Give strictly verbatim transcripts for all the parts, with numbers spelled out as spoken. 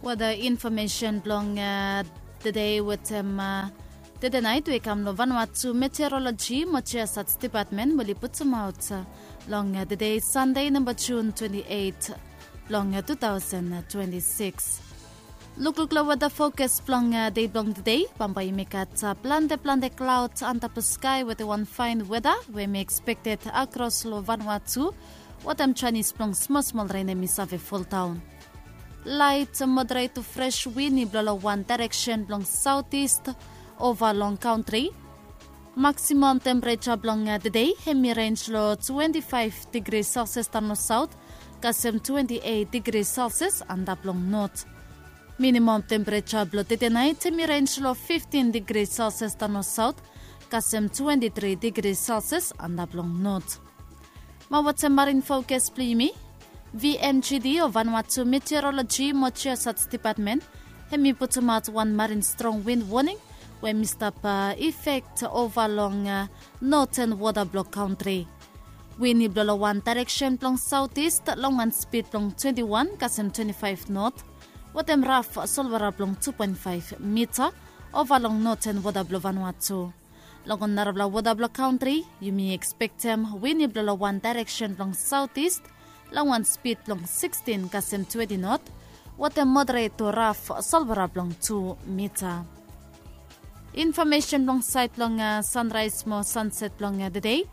Weda infomesen blong tede wetem tede nait we i kam long Vanuatu Meteoroloji mo Jiosats Depatmen we oli putumaot long tede Sande namba Jun twenti eit blong tu taosen twenti sikis. Lukluk long weda fokas blong dei blong tede, bambae yumi gat plante plante klaod antap long skae wetem wan faen weda we mi ekspekted akros long Vanuatu wetem janis blong smol smol ren hemi save foldaon. Laet moderet tu fres win i blo long wan daereksen blong saotis ova long kantri. Maksimam tempereja blong tede hemi renj long twenti faef digri selsias daon long saot kasem twenti eit digri selsias antap long not. Minimam tempereja blong tede nait hemi renj long fiftin digri selsias daon long saot kasem twenti tri digri selsias antap long not. Mo wetem marin fokas blong yumi, V M G D o Vanuatu Meteoroloji mo Jiosats Depatmen hemi putumaot wan marin strong win woning we hemi stap ifek ova long noten wota blong kantri. Win i blo long wan daereksen blong saotis long wan spid blong twenti wan kasem twenti faef not wetem raf solwara blong tu poen faef mita ova long noten wota blong Vanuatu. Long ol narafala wota blong kantri yumi ekspektem win i blo long wan daereksen blong saotis long wan spid blong sikstin kasem twenti not wetem moderet tu raf solwara blong tu mita. Infomesen blong saed blong sanraes mo sanset blong tede.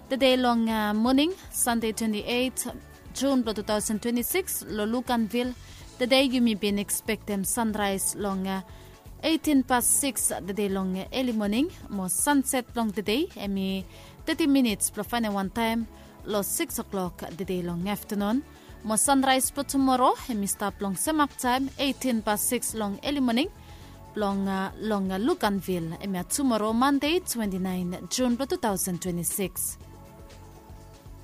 Tede long moning Sande twenti eit Jun blong tu taosen twenti sikis long Luganvil, tede yumi bin ekspektem sanraes long eitin pas sikis tede long eli moning mo sanset blong tede hemi teti minits blong faenem wan taem long sikis oklok tede long aftanun. Mo sanraes blong tumoro hemi stap long semak taem eitin pas sikis long eli moning blong long Luganvil hemia tumoro Mande twenti naen Jun blong tu taosen twenti sikis.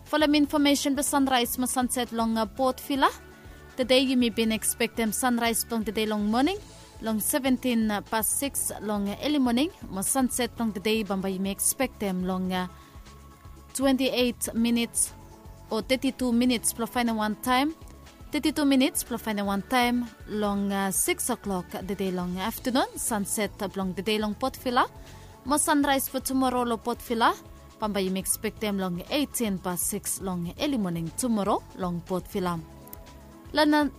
Folem infomesen blong sanraes mo sanset long Port Vila. Tede yumi bin ekspektem sanraes blong tede long moning long seventin pas sikis long eli moning mo sanset blong tede bambae yumi ekspektem long twenti eit minits o teti tu minits blong faenem wan taem teti tu minits blong faenem wan taem long sikis oklok tede long aftanun. Sanset blong tede long Port Vila mo sanraes blong tumoro long Port Vila bambae yumi ekspektem long eitin pas sikis long eli moning tumoro long Port Vila. Long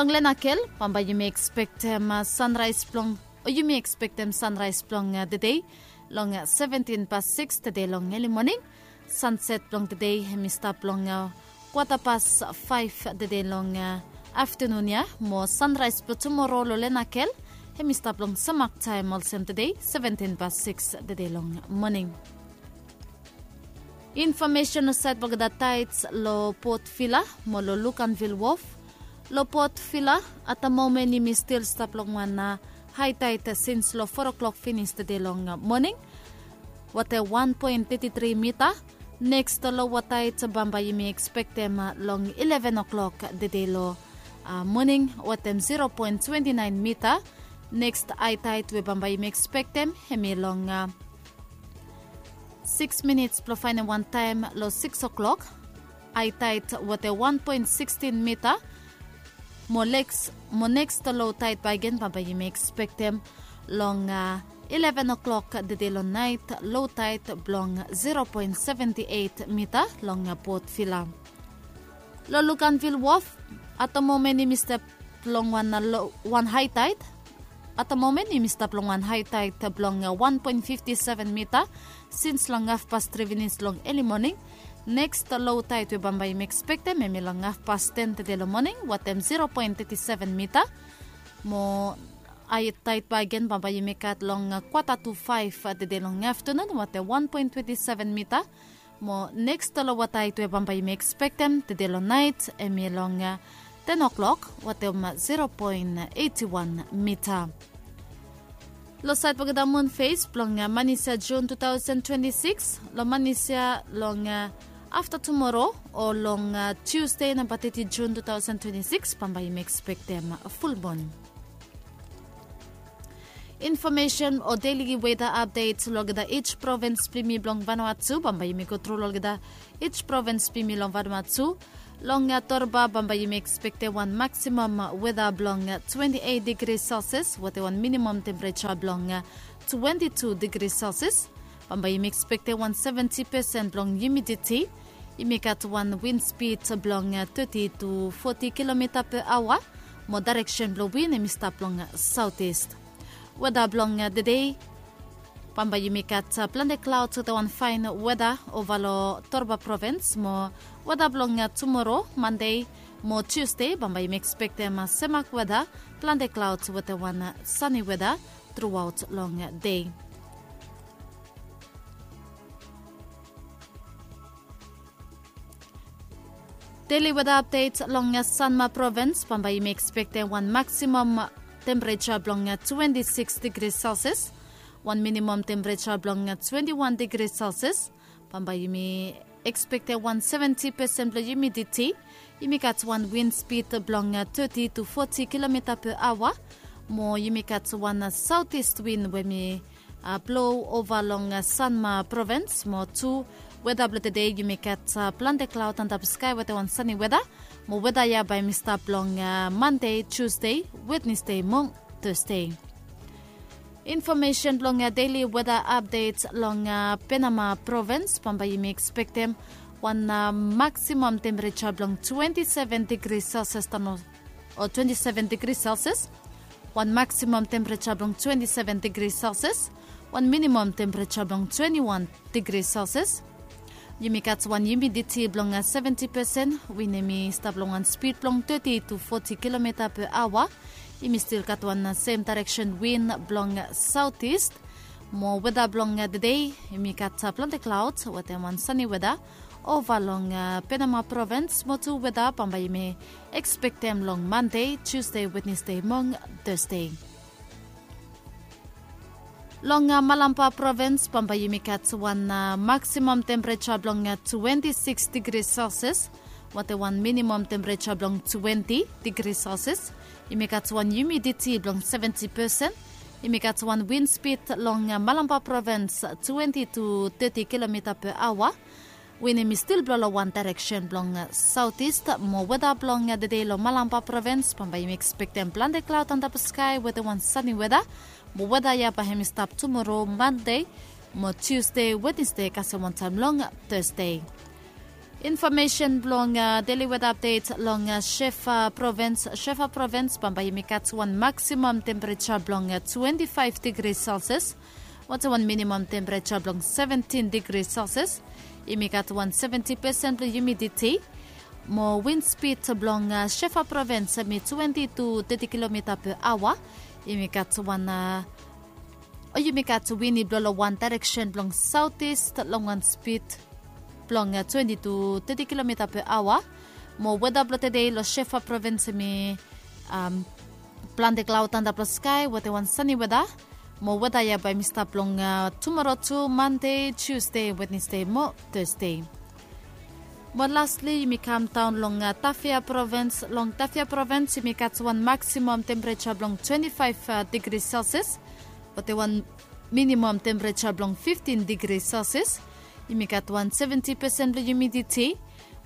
Lenakel bambae yumi ekspektem sanraes blong o yumi ekspektem sanraes blong tede long seventin pas sikis tede long eli moning. Sanset blong tede hemi stap long kwata pas faef tede long aftanun ya mo sanraes blong tumoro long Lenakel hemi stap long semak taem olsem tede seventin pas sikis tede long moning. Infomesen long saed blong olgeta taets long Port Vila mo long Luganvil Wof. Long Port Vila atamomen yumi stil stap long wan haetaet sins long fo oklok finis tede long moning wetem wan poen teti tri mita. Neks lowa taet bambae yumi ekspektem long ileven oklok tede long moning wetem zero poen twenti naen mita. Neks haetaet we bambae yumi ekspektem hemi long sikis minits blong faenem wan taem long sikis oklok. Haetaet wetem wan poen sikstin mita. Mo neks mo neks lowa taet bakegen bambae yumi ekspektem long ileven oklok tede long naet, lowa taet blong zero poen seventi eit mita long Port Vila. Long Luganvil Wof atamomen yumi stap long wan haetaet. Atamomen yumi stap long wan haetaet blong wan poen fifti seven mita sins long hafpas tri finis long eli moning. Neks lowa taet we bambae yumi ekspektem hemi long hafpas ten tede long moning wetem zero poen teti seven mita. Mo haetaet bakegen bambae yumi gat long kwata tu faef tede long aftanun wetem wan poen twenti seven mita. Mo neks lowa taet we bambae yumi ekspektem tede long naet hemi long ten oklok wetem zero poen eiti wan mita. Long saed blong olgeta mun fes blong manis ya Jun tu taosen twenti sikis, long manis ya long afta tumoro o long Tusde namba teti Jun tu taosen twenti sikis bambae yumi ekspektem fulmun. Infomesen o deli weda apdet long olgeta ij provins blong yumi blong Vanuatu bambae yumi gotru long olgeta ij provins blong yumi long Vanuatu. Long Torba bambae yumi ekspektem wan maksimam weda blong twenti eit digri Celsius wetem wan minimam tempereja blong twenti tu digri Celsius. Bambae yumi ekspektem wan seventi pesen blong humiditi. Yumi gat wan win spid blong teti tu foti kilomita pe aoa. Mo daereksen blong win hem i stap long saotis. Weda blong tedei, bambae yumi gat plante klaod wetem wan faen weda ova long Torba provins. Mo weda blong tumoro, Mande, mo Tiusde bambae yumi ekspektem semak weda, plante klaod wetem wan sani weda truaot long dei. Deli weda apdet long Sanma provins, bambae yumi ekspektem wan maksimam tempereja blong twenti sikis digri Celsius, wan minimam tempereja blong twenti wan digri Celsius. Bambae yumi ekspektem wan seventi pesen blong humiditi. Yumi gat wan win spid blong teti tu foti kilomita pe aoa. Mo yumi gat wan saotis win we mi blou ova long Sanma provins. Mo tu, weda blong tedei yumi gat plante klaod antap skae wetem wan sani weda. Mo weda ya bae hem i stap long Mande, Tiusde, Wednesde mo Tasde. Infomesen blong deli weda apdet long Penama provins, bambae yumi ekspektem wan maksimam tempereja blong twenti seven digri Celsius tano, o twenti seven digri Celsius. Wan maksimam tempereja blong twenti seven digri Celsius, wan minimam tempereja blong twenti wan digri Celsius. Yumi gat wan humiditi blong seventi pesen, win hem i stap long wan spid blong teti tu foti kilomita pe aoa. Yumi stil gat wan sem daereksen win blong saotis. Mo weda blong tedei, yumi gat plante klaod wetem wan sani weda ova long Penama provins. Mo tu weda bambae yumi ekspektem long Mande, Tiusde, Wednesde mo Tasde. Long Malampa provins, bambae yumi gat wan maksimam tempereja blong twenti sikis digri Celsius wetem wan minimam tempereja blong twenti digri Celsius. Yumi gat wan humiditi blong seventi pesen. Yumi gat wan win spid long Malampa provins twenti tu teti kilomita pe aoa. Win hem i stil blou long wan daereksen blong saotis. Mo weda blong tedei long Malampa provins, bambae yumi ekspektem plante klaod antap skae wetem wan sani weda. Mo weda ya bae hem i stap tumoro, Mande, mo Tiusde, Wednesde kasem wantaem long Tasde. Infomesen blong deli weda apdet long Shefa provins. Shefa provins, bambae yumi gat wan maksimam tempereja blong twenti faef digri Celsius wetem wan minimam tempereja blong seventin digri Celsius. Yumi gat wan seventi pesen blong humiditi. Mo win spid blong Shefa provins hem i twenti tu teti kilomita pe aoa. Yumi gat wan, o yumi gat win i blou long wan daereksen blong saotis long wan spid blong twenti tu teti kilomita pe aoa. Mo weda blong tedei long Shefa provins hem i plante klaod antap long skae wetem wan sani weda. Mo weda ya bae hem i stap long tumoro tu, Mande, Tiusde, Wednesde mo Tasde. Mo lasli yumi kamdaon long Tafea provins. Long Tafea provins yumi gat wan maksimam tempereja blong twenti faef digri Celsius wetem wan minimam tempereja blong fiftin digri Celsius. Yumi gat wan seventi pesen blong humiditi.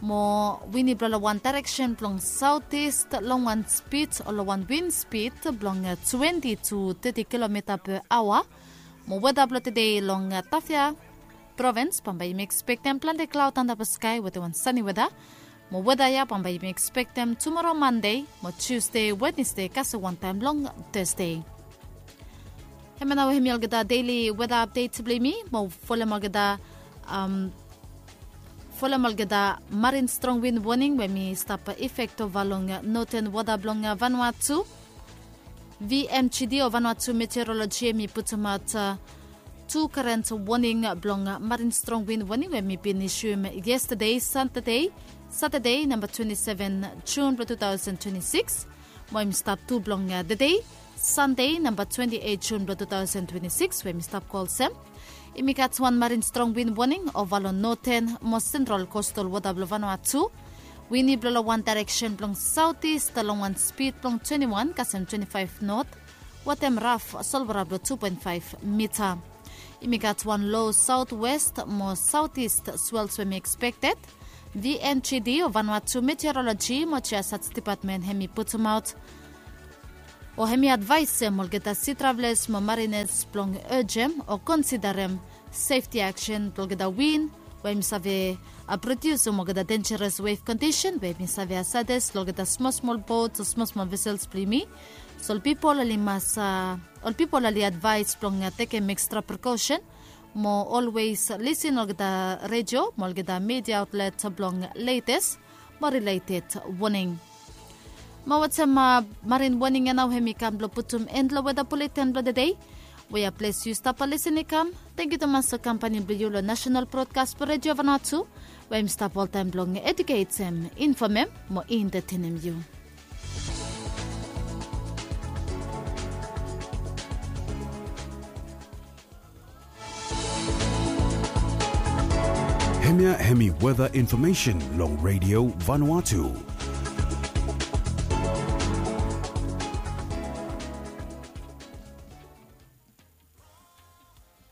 Mo win i blou long wan daereksen blong saotis long wan spid o long wan win spid blong twenti tu teti kilomita pe aoa. Mo weda blong tedei long Tafea provins, bambae yumi ekspektem plante klaod antap skae wetem wan sani weda. Mo weda ya bambae yumi ekspektem tumoro, Mande, mo Tiusde, Wednesde kasem wantaem long Tasde. Hemia nao hemi olgeta deli weda apdet blong yumi. Mo folem olgeta, folem olgeta marin strong win woning we hemi stap ifek ova long noten wota blong Vanuatu. VMGD o Vanuatu Meteorologi hemi putumaot tu karen woning blong marin strong win woning we hemi bin isuem yestade, Satade, Satade namba twenti seven Jun blong tu taosen twenti sikis. Mo hemi stap tu blong tede, Sande namba twenti eit Jun blong tu taosen twenti sikis, we hemi stap go olsem: Yumi gat wan marin strong win woning ova long noten mo sentral kostal wota blong Vanuatu. Win i blo long wan daereksen blong saotis long wan spid blong twenti wan kasem twenti faef not wetem raf solwora blong tu poen faef mita. Yumi gat wan lo saotwes mo saotis swels we hemi ekspekted V N G D o Vanuatu Meteorology mo Geosats Depatmen hem i putumaot o hem i advaesem olgeta si traveles mo marines blong ejem o konsiderem sefti aksen blong olgeta win we hem i save produsim olgeta denjeres wef kondisen we hem i save asades long olgeta smol smol bot o smol smol vesels blong yumi. So ol pipol oli mas ol pipol oli advaes blong tekem ekstra prekosen mo olwes lisin olgeta redio mo olgeta media aotlet blong letes mo rileted woning. Mo wetem marin woning ya nao hem i kam blong putum en long weda buleten blong tedei. We ya ples yu stap lisin i kam. Tangkiu tumas long kampani blong yu long nasenal brodkas blong redio vanua tu we hem i stap oltaem blong eduketem, infomem mo entetenem yu. Hemia hemi weda infomesen long redio Vanuatu.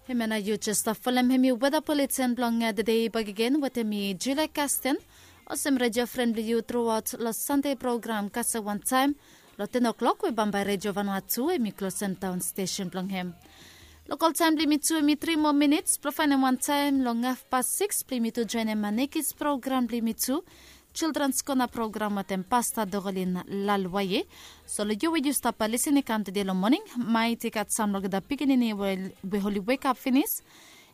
Hemia nao yu jes stap folem hemi weda buleten blong tedei bakegen wetem mi Julia Kasten. Olsem redio fren blong yu truaot long Sande program kasem wantaem long ten o'klok we bambae redio Vanuatu hem i klosem daon stesen blong hem. Lokal taem blong yumi tu hem i tri moa minits blong faenem wantaem long hafpas sikis blong yumi tu joenem nekis program blong yumi tu, Childrens Kona program wetem Pasta Dorolin Lalwaye. So long yu we yu stap lisin i kam tede long moning, maet i gat sam long olgeta pikinini we oli wekap finis.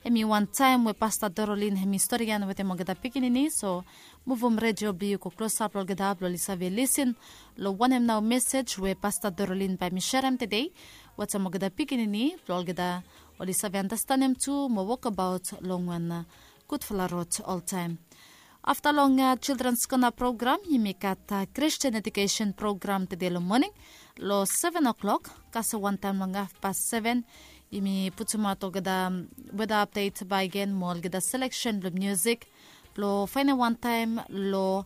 Hem i wantaem we Pasta Dorolin hem i storian wetem olgeta pikinini. So muvum redio blong yu go klosap long olgeta blong oli save lisin long wanem nao mesej we Pasta Dorolin bae hem i serem tede wetem olgeta pikinini blong olgeta oli save andastanem tu mo wokabaot long wan gudfala rod oltaem. Afta long Childrens Kona program yumi gat Kristin edukesen program tede long moning long seven o'klok. Kasem wantaem long hafpas seven yumi putumaot olgeta weda apdet bakegen mo olgeta seleksen blong musik blong faenem wantaem long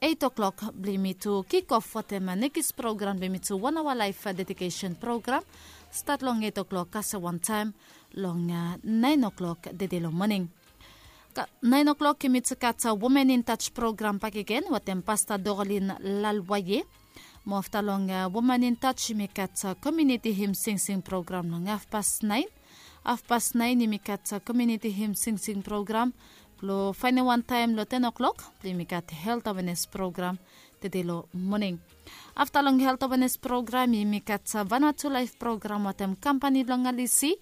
eit o'klok blong yumi tu kikof wetem nekis program blong yumi tu wan aoa laef dedikesen program. Stat long eit o'klok kasem wantaem long naen o'klok tede long moning. Naen o'klok yumi tu gat Women in Touch program bakegen wetem Pasta Dorolin Lalwaye. Mo afta long Women in Touch yumi gat komiuniti him singsing program long hafpas naen. Hafpas naen yumi gat komiuniti him singsing program blong faenem wantaem long ten o'klok blong yumi gat helt awenes program tede long moning. Afta long helt awenes program yumi gat Vanuatu Laef program wetem kampani blong Alisi.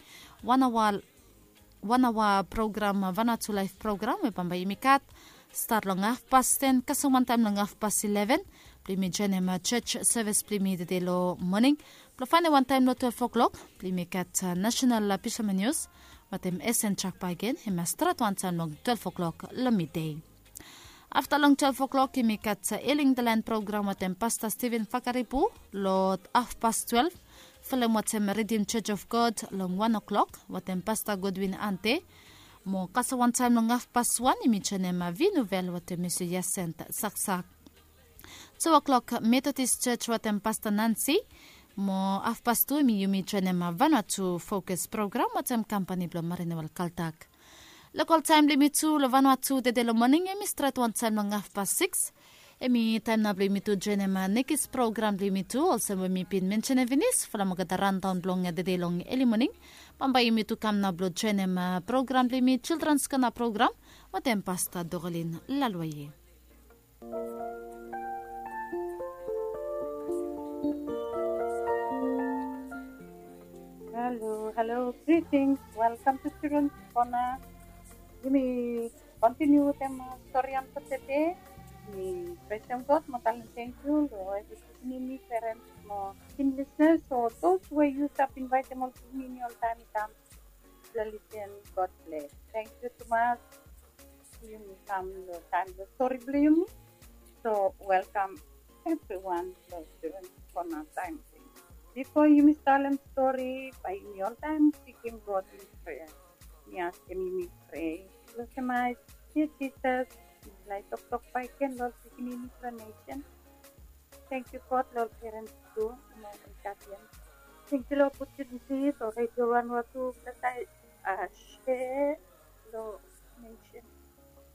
Wan aoa wan aoa program Vanuatu Laef program we bambae yumi gat stat long hafpas ten kasem wantaem long hafpas ileven blong yumi joenem jos sevis blong yumi tede long moning blong faenem wantaem long twelef o'klok blong yumi gat nasenal pisaman nius wetem esen jak bakegen hem i mas stret wantaem long twelef o'klok long midei. Afta long twelef o'klok yumi gat Healing the Land program wetem Pasta Steven Fakaribu long hafpas twelef. Folem wetem Redeem Church of God long wan o'klok wetem Pasta Godwin Ante. Mo kasem wantaem long hafpas wan yumi joenem Vinuvel wetem Misi Yasent Saksak. Tu o'klok Methodist Church wetem Pasta Nansi. Mo hafpas tu yumi joenem Vanuatu Fokus program wetem kampani blong Marinewel Kaltak. Lokal taem blong yumi tu long Vanuatu tede long moning hem i stret wantaem long hafpas sikis. Hem i taem nao blong yumi tu joenem nekis program blong yumi tu olsem we mi bin mensenem finis folem olgeta randaon blong tede long eli moning. Bambae yumi tu kam nao blong joenem program blong yumi Childrens Kona program wetem Pasta Dorolin Lalwaye. Halo, halo, gritings. Welkam tu Childrens Kona. Yumi kontiniu wetem storian blong tede. Mi presem God mo talem tangkiu long evri pikinini, perens mo keen lisnas, o dos we yu stap invaetem ol pikinini oltaem i kam blong lisin. God bles. Tangkiu tumas. Yumi kam long taem blong stori blong yumi. So welkam evriwan long Childrens Kona taem. Bifo yumi talem stori bae yumi oltaem sikim God long prea. Mi askem yumi prea. Blesem ae, Jisas, yumi lae toktok bakegen long ol pikinini blong nesen. Tangkiu God long ol perens tu mo ol gadian. Tangkiu long opotuniti blong redio Vanuatu blong taem se long nesen.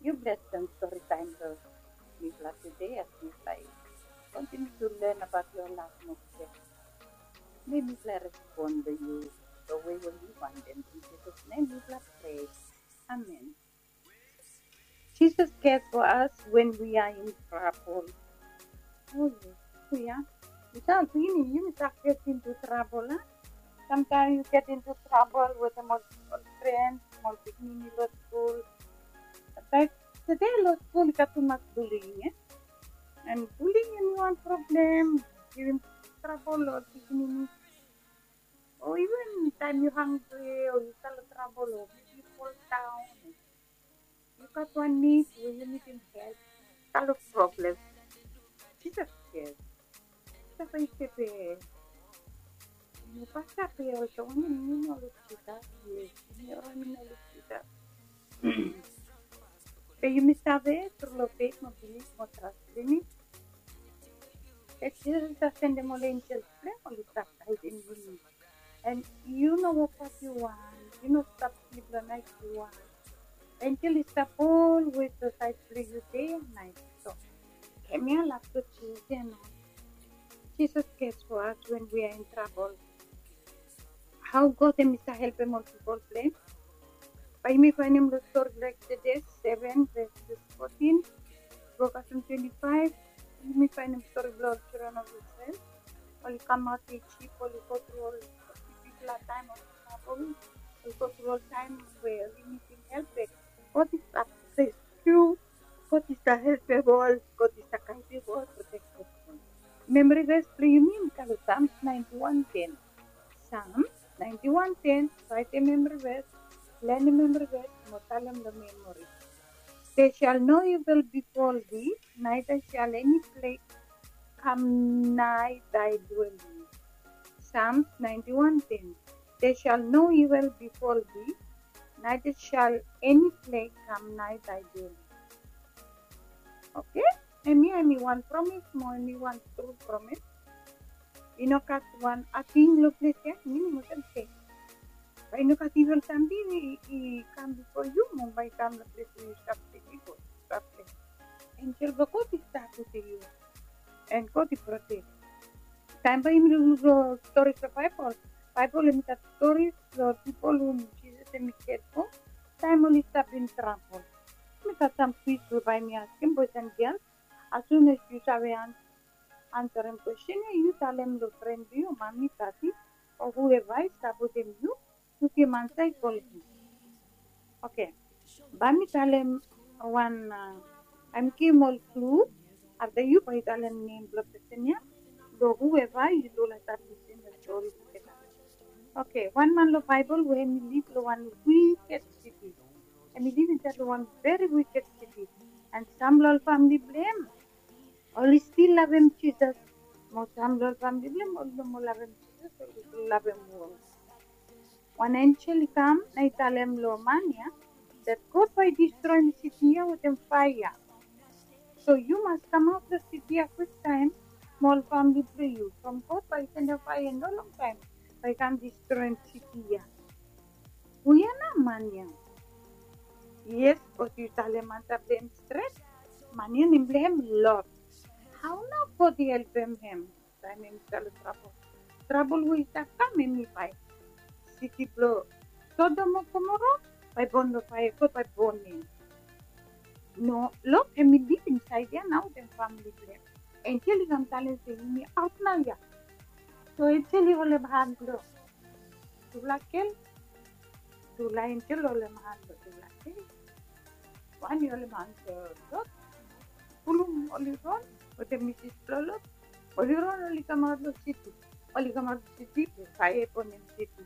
Yu blesem stori taem blong mifala tede as mifala i kontiniu tu len abaot long laf moa step. Mifala i respon long yu long we we yu wantem. In Jisas nem mifala prea. Amen. Jesus cares for us when we are in trouble. Oh yes, oh yeah. Yu save, yumi, yumi save get into trouble, a? Sometimes you get into trouble with ol, ol friends, ol pikinini long skul. Sometimes tede long skul i gat tumas bullying, e? And bullying hemi wan problem, givim trouble long ol pikinini. O even taem yu hangre o yu stap long trouble o yu fol daon, yu gat wan nid we yu nidim help, stap long problem. Jisas cares. Jisas i save. Yu no bae save olsem wanem, yu no luk Jisas. Yes, yu no luk Jisas. Be yumi save tru long feit mo bilif mo tras blong yumi, be Jisas i save sendem ol enjel blong hem oli stap gaedem yumi. And yu no wok as yu want, yu no stap slip long nait yu want. Enjel i stap olwes long saed blong yu dei and nait. So hemia laf blong Jisas ia nao. Jesus cares for us when we are in trouble. Hao God hemi stap helpem ol pipol blong hem? Bae yumi faenem long stori blong Exodus seven verses fourteen go kasem twenty-five. Yumi faenem stori blong ol children of Israel. Oli kamaot Ijip, oli go tru ol bigfala taem of trouble. Oli go tru ol taem we oli nidim help, be God i stap rescue, God i stap helpem ol, God i stap gaedem ol, protektem ol. Memory verse blong yumi i kam long Psalms ninety-one ten. Psalms ninety-one ten, raetem memory verse, lanem memory verse mo talem long memory. There shall no evil befall thee, neither shall any plague come nigh thy dwelling. Psalms ninety-one ten. There shall no evil befall thee, neither shall any plague come nigh thy dwelling. Okay? Hemia hemi wan promis mo hemi wan tru promis. I no gat wan ating long ples ia, minim olsem se bae i no gat evil samting i kam bifo yu mo bae i kam long ples we yu stap stei bifo, yu stap stei. Enjel blong God i stap wetem yu. And God i protek. Taem bae yumi lukluk long stories long Baebol, Baebol hemi gat stories long pipol hum Jisas hemi cared for taem oli stap in trouble. Hemi gat sam kwis we bae yumi askem, boys and girls. As soon as yu save ansarem kwestin ia, yu talem long fren blong yu, mami, dadi, o whoever i stap wetem yu, yu givim ansa i go long hem. Okay. Bae mi talem wan, a, bae mi givim ol clue. Afta yu bae yu talem nem blong pesen ia, long whoever yu tu laik stap lisin long stori tugeta. Okay, wan man long Baebol we hemi liv long wan wiked siti. Hemi liv insaed long wan veri wiked siti. And sam long ol famle blong hem oli stil lavem Jisas. Mo sam long ol famle blong hem oli no moa lavem Jisas, oli lavem wol. Wan enjel i kam na i talem long man ia that God bae i distroem siti ia wetem faea. So yu mas kamaot long siti ia kwiktaem mo ol famle blong yu, from God bae i sendem faea i no longtaem bae i kam distroem siti ia. Hu ia nao man ia? Yes, bikos yu talem ansa blong hem stret. Man ia nem blong hem Lot. Hao nao God i helpem hem taem hem i stap long trabol? Trabol we i stap kam hemi bae siti blong Sodom o Gomora bae bon long faea, God bae bonem. No, Lot hemi liv insaed ia nao wetem famle blong hem. Enjel i kam talem se yumi aot nao ia. So enjel i holem han blong tufala gel, tufala enjel holem han blong tufala gel. Wan i holem han blong Lot. Fulum oli ron wetem misis blong Lot. Oli ron, oli kamaot long siti. Oli kamaot long siti blong faea i bonem siti.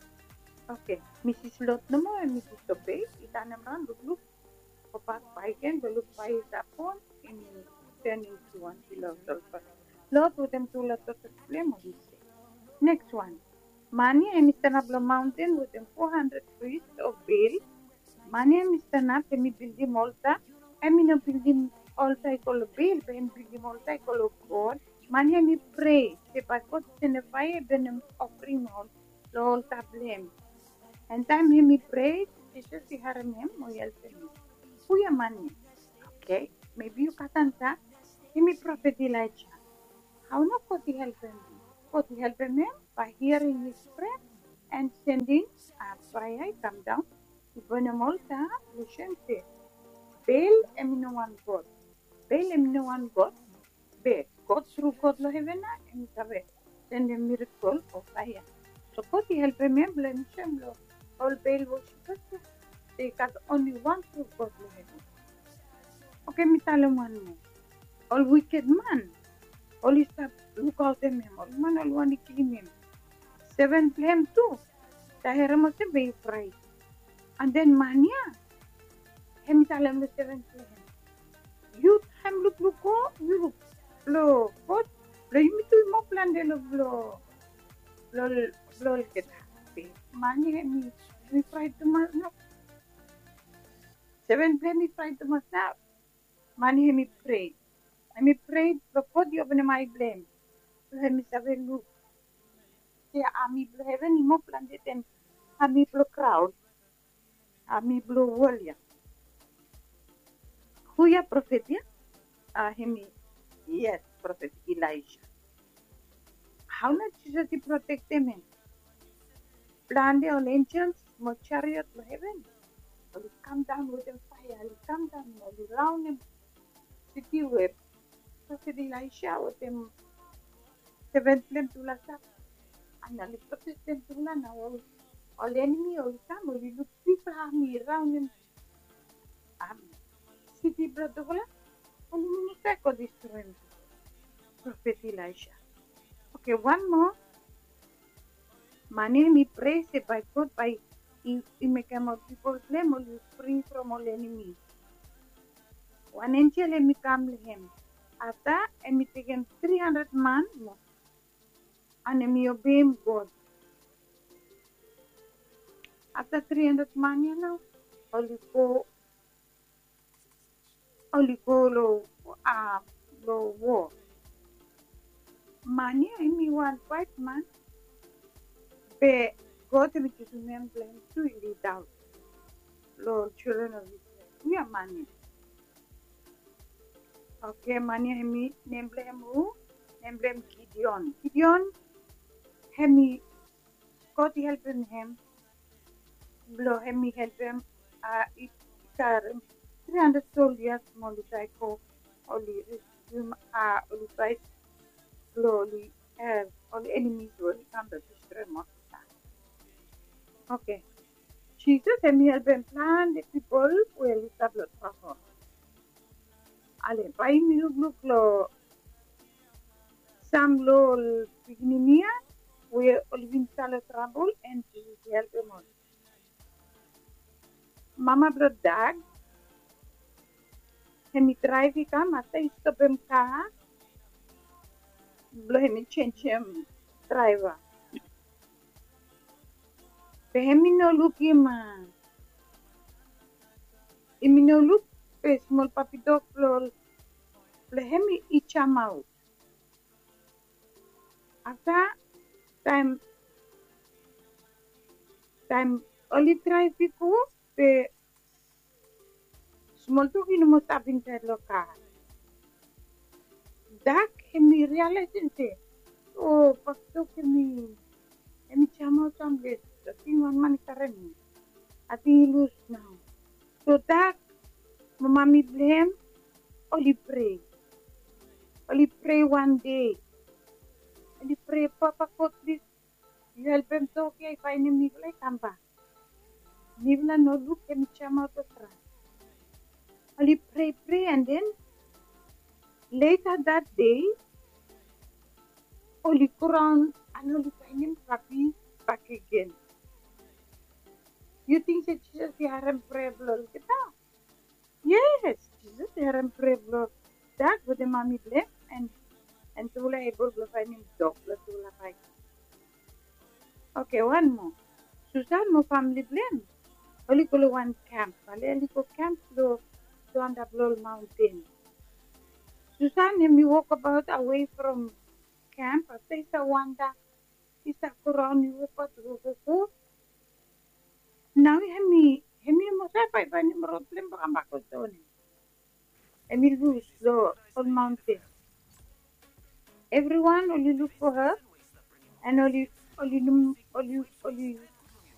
Okay, misis Lot nomo hemi disobei, i tanem raon lukluk, gobak bakegen blong luk faea i stap on, hemi turn into wan pila of sulfa. Lot wetem tufala dota blong hem oli sev. Next wan. Man ia hemi stanap long maonten wetem fo handred pris of Baal. Man ia hemi stanap, hemi bildim olta. Hemi no bildim olta i go long Baal, be hemi bildim olta i go long God. Man ia hemi prea se bae God i sendem faea i bonem ofring long olta blong hem. And taem hemi prea, Jisas i harem hem mo i helpem hem. Hu ia man ia? Okei, mebi yu gat ansa. Yumi profet Ilaija. Hao nao God i helpem hem? God i helpem hem by hearing his prayer and sending a fire i kam daon i bonem olgeta. Lusim se Bel hem i no wan god. Bel hem i no wan god. Be God, tru God long heven nao hem i save sendem mirakel o faea. So God i helpem hem blong hem i soem long ol Bel worsipers ya se i gat onli wan tru God long heven. Okei, mi talem wan moa. Ol wiked man oli stap lukaotem hem, ol man oli wantem kilim hem. Seven blong hem tu, taem i herem olsem bae i fraet. And then man ya hem i talem long seven blong hem, yu taem lukluk go yu luk blong God, blong yumi tu i moa plante long blong, blong olgeta. Be man ya hem i fraet tumas nao. Seven blong hem i fraet tumas nao. Man ya hem i prea. Hem i prea blong God i openem ae blong hem, blong hem i save luk se ami blong heven i moa plante den ami blong graon, ami blong wol ya. Hu ya, profet ya? A, hem i, yes, profet Ilaija. Hao nao Jisas i protektem hem? Plante ol enjels mo jariot long heven oli kam daon wetem faea, oli kam daon, oli raonem siti we profet Ilaija wetem seven blong hem tufala stap. And oli protektem tufala nao, ol enemi oli kam, oli luk bigfala ami raonem siti blong tufala, oli no save go distroem profet Ilaija. Okei, wan moa. Man ya hem i prea se bae God bae i mekem ol pipol blong hem oli fri from ol enemi. Wan enjel hem i kam long hem. Afta hem i tekem tri handred man moa, and hem i obeem God. Afta tri handred man ya nao oli go, oli go long, a, long wo. Man ya hem i wan waet man, be God hem i jusum nem blong hem tu i lidaon long ol children of Israel. Hu ya man ya? Okei, man ya hem i, nem blong hem hu? Nem blong hem Gideon. Gideon hem i, God i helpem hem blong hem i helpem, a, i karem tri handred soldia mo oli trae go, oli reskum, a, oli faet blong oli, e, ol enemis we oli kam blong distroem olgeta. Okei. Jisas hem i helpem plante pipol we oli stap long trabol. Ale, bae yumi lukluk long sam long ol pikinini ya we oli bin stap long trabol, and Jisas i helpem ol. Mama blong Dak hem i draev i kam, afta i stopem kar blong hem i jenjem draeva. Be hem i no lukim, a, hem i no luk, be smol papi dog blong, blong hem i jamaot. Afta taem, taem oli draev i go, be smol dog i no moa stap insaed long kar. Dak hem i rialaesem se, o, papi dog hem i, hem i jamaot samles. Ating wan man i karem mi. Ating i lus nao. So Dak mo mami blong hem oli prea. Oli prea wan dei. Oli prea, Papa God, plis yu helpem dog ya i faenem mifala i kambak. Mifala no luk hem i jamaot long gras. Oli prea, prea, and then later that day oli go raon and oli faenem papi bakegen. Yu ting se Jisas i harem prea blong olgeta? Yes, Jisas i harem prea blong Dak wetem mami blong hem, and, and tufala i ebol blong faenem dog blong tufala bakegen. Okei, wan moa. Susan mo famle blong hem oli go long wan kamp. Ale, oli go kamp long antap long ol maonten. Susan hem i wokbaot awei from kamp, afta i stap wanda, i stap go raon, i wokbaot, wok, wok, wok. Nao hem i, hem i no save faefaenem rod blong hem blong kambak long taon ya. Em i lus lo ol maunten. Evriwan oli luk fo ha, an oli oli oli oli